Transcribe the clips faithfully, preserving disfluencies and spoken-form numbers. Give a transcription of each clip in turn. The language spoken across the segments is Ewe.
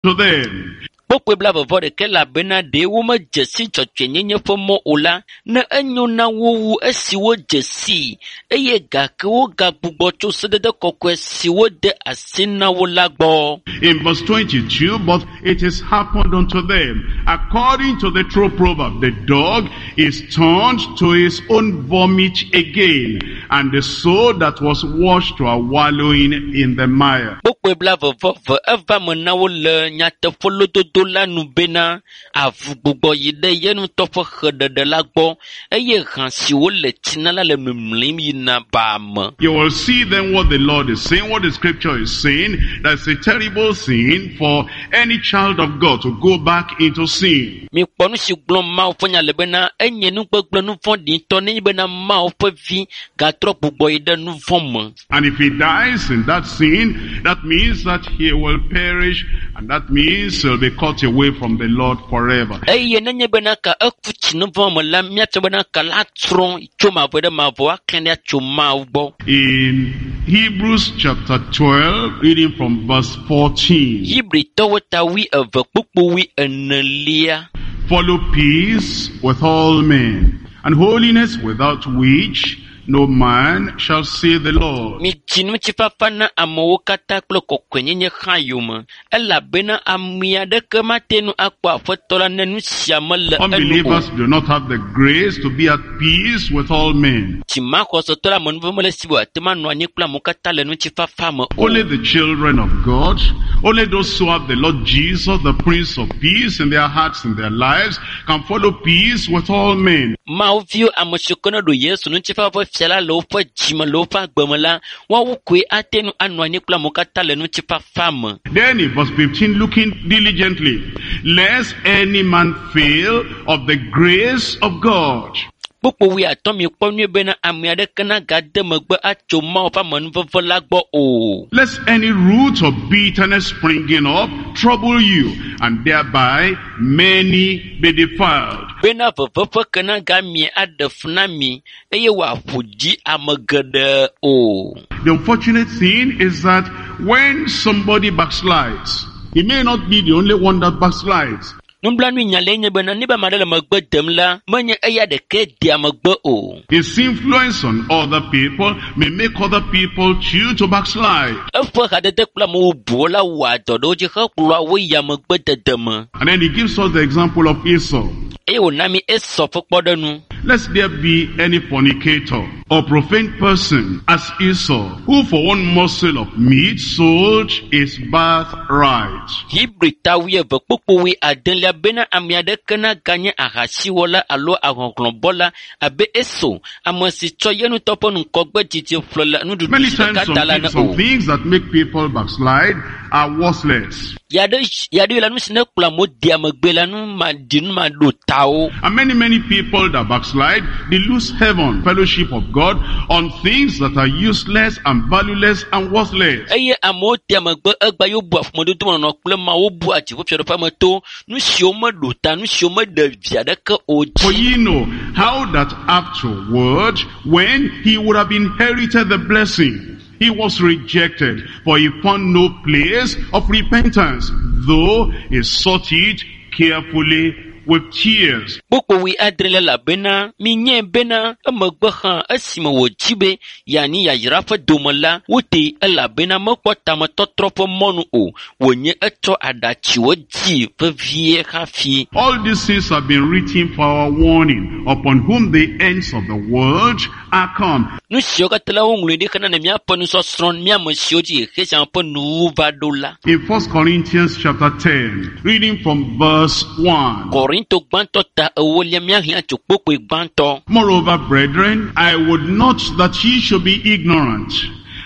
to them. Kpukpui blaeve vɔ ɖekɛ elabena ɖe womedze si dzɔdzɔenyenye ƒe mɔ o la, ne enyo na wo wu esi wodze sii eye gake wogagbugbɔ tso sedede kɔkɔe si wode asi na wo la gbɔ. In verse twenty-two, but it is happened unto them, according to the true proverb, the dog is turned to his own vomit again, and the soul that was washed to a wallowing in the mire. Kpukpui blaeve vɔ eve eva me na wo le nyateƒe lododo la nu bena avu gbugbɔ yi ɖe ye ŋutɔ ƒe xeɖeɖe la gbɔ eye hã si wole tsi na la le mimlim yina baa me. You will see then what the Lord is saying, what the scripture is saying. That's a terrible sin for any child of God to go back into sin. Mikpɔ nu si gblɔm Mawu ƒe nya le bena enye nu gbegblẽ nu vɔ̃ɖi ŋutɔ nenye bena Mawu ƒe vi gatrɔ gbugbɔ yi ɖe nu vɔ̃ me. And if he dies in that sin, that means that he will perish, and that means he'll be cut away from the Lord forever. Eye nenye bena ka eku tsi nu vɔ̃ me la, míatsɔ bena ka la trɔ tso mavɔ ɖe mavɔ aklẽ ɖa tso Mawu gbɔ. In Hebrews chapter twelve, reading from verse fourteen. Hebritɔwo ta wui eve kpukpu wui enelia. Follow peace with all men, and holiness, without which no man shall see the Lord. Midzi ŋutifafa na amewo katã kple kɔkɔenyenye hã yome, elabena ame aɖeke mate ŋu akpɔ Aƒetɔ la ne nu sia mele enu o. Unbelievers do not have the grace to be at peace with all men. Dzimaxɔsetɔ la amenuveve mele esi wòate ŋu anɔ anyi kple amewo katã le ŋutifafa me o. Only the children of God, only those who have the Lord Jesus, the Prince of Peace, in their hearts and their lives, can follow peace with all men. Mawu viwo ame siwo ke ne ɖo Yesu ŋutifafa ƒe fia la le woƒe dzime le woƒe agbe me la, woawo koe ate ŋu anɔ anyi kple amewo katã le ŋutifafa me. Then in verse fifteen, looking diligently, lest any man fail of the grace of God. Kpukpu wui atɔ̃ mikpɔ nyuie bena ame aɖeke nagade megbe atso Mawu ƒe amenuveve la gbɔ o. Lest any root of bitterness springing up trouble you, and thereby many be defiled. Bena veve ƒe ke nagamie aɖe fu na mi eye wòaƒo dzi ame geɖe o. The unfortunate thing is that when somebody backslides, he may not be the only one that backslides. Nublanui nya lae nye bena ne be ame aɖe le megbe dem la, menye eya ɖekae dea megbe o. His influence on other people may make other people choose to backslide. Eƒe hadede kple ame bubuwo la wɔa dɔ ɖe wo dzi hekplɔa wo yia megbedede me. And then he gives us the example of Esau. Eye wòna mi Esau ƒe kpɔɖeŋu. Lest there be any fornicator or profane person as Esau, who for one morsel of meat sold his birthright. Hebri ta wuieve kpukpu wui adelia bena ame aɖeke naganye ahasiwɔla alo ahɔhlɔ̃bɔla abe Esau, ame si tsɔ ye ŋutɔ ƒe ŋgɔgbe dzidzi ƒle le nuɖuɖu Many si times ɖeka some, ta la ne some o. things that make people backslide are worthless. Yaɖe yaɖe la nu si ne kplɔ amewo dea megbe la nu ma ɖi nu ma ɖo tawo. And many, many people that backslide, they lose heaven, fellowship of God, on things that are useless and valueless and worthless. Eye amewo dea megbe egba yewo bua ƒomedodomenɔnɔ kple Mawu bua dziƒofiaɖuƒea me to nu siwo meɖo ta nu siwo meɖe vi aɖeke o For dzi. ye know how that afterward, when he would have inherited the blessing, he was rejected, for he found no place of repentance, though he sought it carefully with tears. Kpukpu wui adre elabena minyae bena emegbe hã esime wòdzi be yeanyi yayra ƒe dome la, wotee elabena mekpɔ tametɔtrɔ ƒe mɔnu o, wònye etsɔ aɖatsiwo dzi vevie hafi. All these things have been written for our warning, upon whom the ends of the world are come. Nu siwo katã la woŋlɔe ɖi hena ne míaƒe nusɔsrɔ̃ mía ame siwo dzi xexe sia ƒe nuwuwu va ɖo la. In First Corinthians chapter ten, reading from verse one. Korinto gbãtɔ ta ewolia míaxlẽ tso kpukpui gbãtɔ. Moreover, brethren, I would not that ye should be ignorant,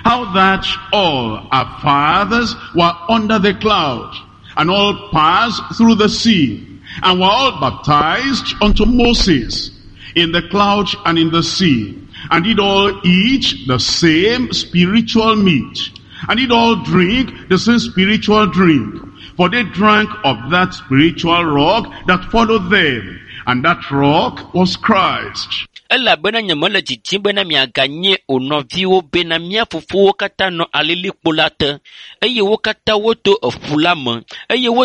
how that all our fathers were under the cloud, and all passed through the sea, and were all baptized unto Moses in the cloud and in the sea, and did all eat the same spiritual meat, and did all drink the same spiritual drink. For they drank of that spiritual rock that followed them, and that rock was Christ. Elabena nyemele didim bena miaganye o nɔviwo bena mía fofowo katã nɔ alilikpo la te eye wo katã woto eƒu la me eye wo